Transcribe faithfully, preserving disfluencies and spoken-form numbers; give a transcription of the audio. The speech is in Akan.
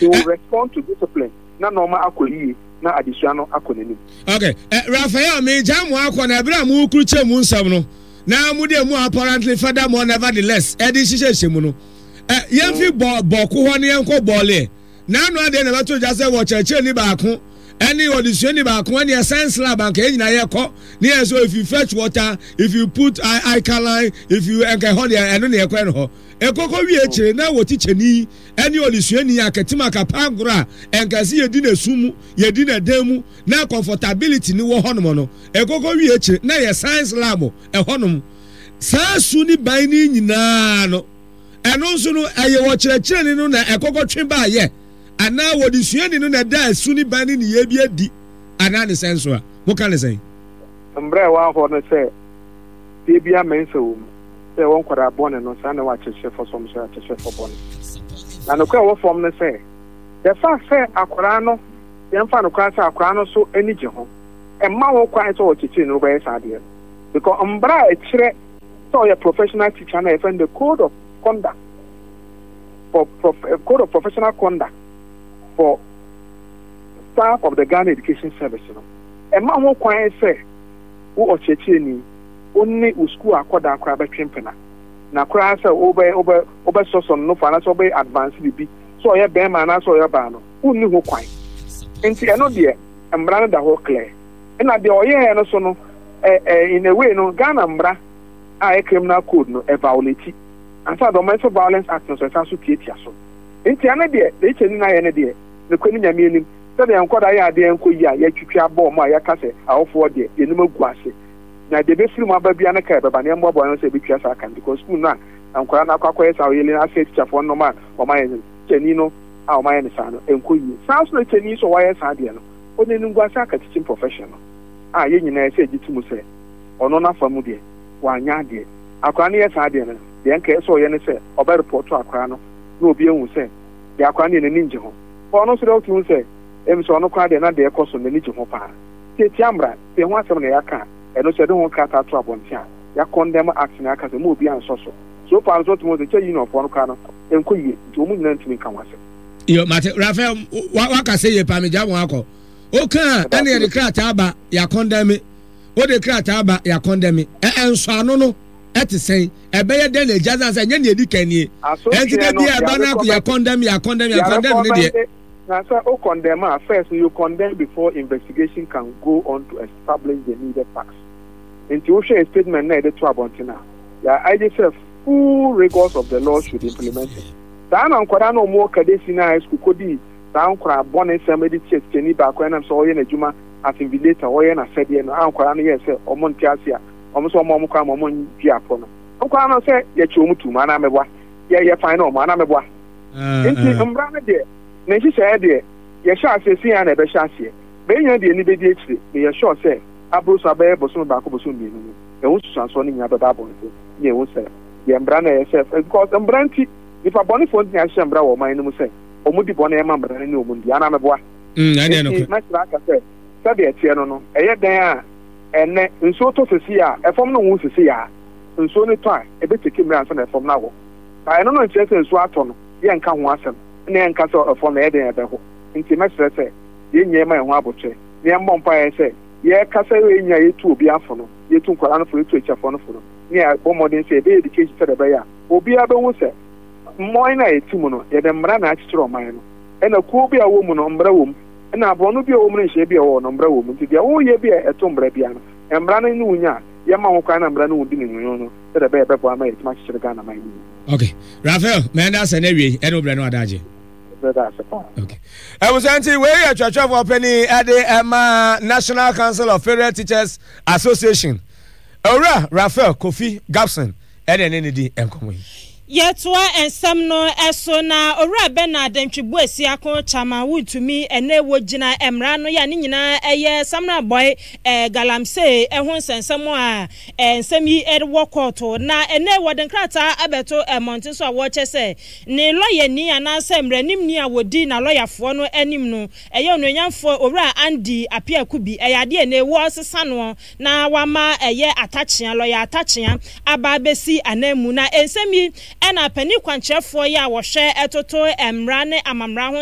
They will respond to discipline na nneɛma akɔ yie na adesua no akɔ n'anim. Okay, uh, Raphael, megya mo akɔ na ɛberɛ a mokurukyɛ mu nsɛm no na mode mu apparently, furthermore, nevertheless, ɛde hyehyɛhyɛ mu no, uh, yɛmfi bɔ bɔko hɔ ne yɛnkɔ bɔɔleɛ n'ano adeɛ na ɛbɛto gya sɛ wɔkyerɛkyerɛni baako ɛne ɔdesuani baako ɛne science lab anka yɛn nyinaa yɛkɔ ne yɛn so, if you fetch water, if you put alkaline, if you nka ɛhɔ deɛ, ɛno ne yɛkɔ ɛno hɔ ekoko wie akyire na wɔ tikyɛni ɛne ɔdesuani akɛtem akapa agorɔ a ɛnka sɛ yɛdi n'esu mu, yɛdi n'ɛdan mu na comfortability ni wɔ hɔnom no, ekoko wie akyire na yɛ science lab ɛhɔnom saa su ne ban ne nyinaa no, ɛno nso no ɛyɛ wɔ kyerɛkyerɛni no na ɛkɔkɔ twe baayɛ anaa wɔde suani no na ɛda esu ne ban ne ne yɛ bi adi anaa ne sɛn so a moka ne sɛn? Mmerɛ a ɛwɔ hɔ no sɛ fie bi amɛnsa wɔ mu sɛ ɛwɔ nkwadaa bɔne no saa na ɛwɔ akyerɛkyerɛfoɔ so, ɔmo sɛ akyerɛkyerɛfoɔ bɔne na nokorɛ ɛwɔ fam no sɛ the fact sɛ akwadaa no, yɛmfa no koraa sɛ akwadaa no so ani gye ho, ɛmma wo kwan sɛ ɔkyekyere no wobɛyɛ saa adeɛ no, because mbra a ɛkyerɛ sɛ ɔyɛ professional teacher na yɛfrɛ no the code of conduct for prof, code of professional conduct for staff of the Ghana Education Service no, ɛma ho kwan sɛ wo ɔkyerɛkyerɛni, wo ne wo school akɔdaa koraa bɛtwe mpena na koraa sɛ wobɛ wobɛ wobɛsɔsɔ no nofo anaasɛ wobɛyɛ advance biribi sɛ ɔyɛ bɛrima anaasɛ ɔyɛ ɔbaa no, wonni ho kwan. Nti ɛno deɛ, mmara no da hɔ clear. Ɛna deɛ ɔyɛɛ no so no, ɛ ɛ in a way no, Ghana mmara a ɛyɛ criminal code no ɛviolate ansa Domestic Violence Act no so ɛsan so tiatia so. Nti ɛno deɛ, deɛ ɛkyɛ ni na ayɛ no deɛ, nokorɛ ne Nyame anim, sɛdeɛ nkɔda yɛ adeɛ nkɔ yi a yɛatwitwi abɔ ɔmo a yɛaka sɛ awofoɔ deɛ yɛnim agu ase na deɛ ɛbɛfiri mu aba bia no ka ɛbɛba na yɛmmoaboa no sɛ ɛbɛtua saa ka no, because school no a nkwadaa no akɔ akɔyɛ saa ɔyɛle no asɛ tikyafoɔ no a ɔmayɛ no kyɛni no a ɔmayɛ no saa no ɛnkɔ yie. Saa so na kyɛni so a wayɛ saa deɛ no, ɔde animguase aka teaching profession no a yɛn nyinaa sɛ gye to mu sɛ ɔno n'afa mu deɛ wanyɛ adeɛ. Akwadaa no yɛ saa deɛ no deɛ, nka ɛsɛ ɔyɛ ne sɛ ɔbɛ report akwadaa no na obi ehu sɛ deɛ akwadaa no yɛ n'ani ngye ho. Ɔno nso deɛ, ɔte hu sɛ ɛmu sɛ ɔno koraa deɛ na deɛ ɛkɔ so n'ani gye ho paa. Tietia mmara tie ho asɛm na yɛaka a, ɛno sɛ ɛde ho krataa to abɔnten a yɛacondemn act na yɛaka sɛ mo obi ansɔ so. So far nso ɔtumi sɛ kyɛ unionfoɔ no koraa no ɛnkɔ yie, nti wɔn nyinaa ntumi nka ho asɛm. Yo, mate. Rafael, waka sɛ yie paa. Megya wɔn akɔ oka a ɛne yɛde krataa ba yɛacondemn, wode krataa ba yɛacondemn, ɛnsɔ no ɛte sɛn? Ɛbɛyɛ dɛn na egya san sɛ ɛnyɛ nea edi kan nie? Ɛnti dɛ bi a ɛba no akɔ yɛacondemn, yɛacondemn, yɛacondemn ne deɛ. Na sɛ o condemn a, first you condemn before investigation can go on to establish the needed facts. Nti wohwɛ statement na yɛde to abɔnten a, yɛ agye sɛ full rigors of the law should implement it. Saa na nkwadaa na wɔn wɔ Kade Senior High School kɔdii saa nkwadaa bɔne sɛm de kyerɛ tikyani baako ɛnam sɛ ɔyɛ n'adwuma as invigilator, ɔyɛ n'asɛdeɛ no a, nkwadaa no yɛ sɛ wɔn nte ase a, wɔn nso wɔn wɔn kwan ma wɔn ndwi apɔ no. Nkwadaa no sɛ yɛkye wɔn tum anaa mɛboa yɛ yɛ fan na wɔn anaa mɛboa. Nti mmara no deɛ, ne nhyehyɛeɛ deɛ, yɛhyɛ aseɛ si yɛn na ɛbɛhyɛ aseɛ bɛyɛ deɛ ni bɛdi akyire na yɛ sure sɛ aburo so abɛyɛ bosome baako, bosome mmienu no, ɛho susuansoɔ no nyinaa bɛba abɔnten ne ɛho sɛ yɛ mmara no ɛyɛ sɛ, because mmara nti nipa bɔnefoɔ nti na yɛahyehyɛ mmara wɔ ɔman no mu sɛ ɔmo di bɔne ɛma mmara no ne ɔmo ndi anaa mɛboa. Nti mɛsrɛ aka sɛ sɛdeɛ ɛteɛ no no ɛyɛ dan a ɛnɛ nsuo tɔ sisi a ɛfam no ho sisi a nsuo no tɔ a, ɛbɛtake mmerɛ ansa na ɛfam no awɔ ba. Ɛno no nkyerɛ sɛ nsuo atɔ no yɛnka ho asɛm na yɛnka sɛ ɛfam no ɛyɛ den ɛbɛho. Nti mɛsrɛ sɛ yɛn nyɛ ma yɛn ho abotire na yɛmmɔ mpaeɛ sɛ yɛkasa yɛ nya yɛtu obi afo no, yɛtu nkwadaa no fo, yɛtu akyiafoɔ no fo no, ne yɛbɔ mmɔden sɛ yɛbɛyɛ education sɛdeɛ ɛbɛyɛ a obiara bɛhu sɛ mmɔn no a yɛte mu no, yɛde mmara na akyekyere ɔman no, ɛna kuo bi a wɔ mu no mmara wɔ mu, ɛna aborɔno bi a wɔ mu no nhyɛn bi a ɛwɔ no mmara wɔ mu. Nti deɛ woyɛ bi a ɛto mmara bia no, mmara no ne wo nya a yɛma ho kwan na mmara no wo di ne nwono no sɛdeɛ ɛbɛyɛ bɛboa ma yɛtumi akyekyere Ghana man no mu. Okay, Raphael, mɛnda sɛ ne wie ɛne wo brɛ no adagye. Okay, ɛwusɛ nti wei yɛ twɛtwɛfoɔ panyin ɛde ɛma National Council of Federal Teachers Association, Owura Raphael Kofi Gabson, ɛne ɛne ne di nkɔmɔ yi. Yɛtoa nsɛm no ɛso na Owura Bernard Ntwibu Esiako, Chairman Wontumi, ɛnɛ wɔgyina mmara no yɛ a ne nyinaa ɛyɛ Samreboi ɛɛ galamsey ɛho nsɛnsɛm a ɛɛ nsɛm yi ɛwɔ kɔɔto na ɛnɛ wɔde nkrataa abɛto ɛmɔnten so a wɔrekyɛ sɛ ne lɔyani anaasɛ mmaranimni a wɔdi na lɔyafoɔ no anim no ɛyɛ onuonyamfoɔ Owura Andy Appiah-Kubi, ɛyɛ adeɛ ne wɔresesa no na wama ɛyɛ Atakyea, lɔya Atakyea aba abɛsi anan mu. Na nsɛm yi ɛna panin kwankyerɛfoɔ yi a wɔhwɛ ɛtoto mmara ne amammerɛ ho.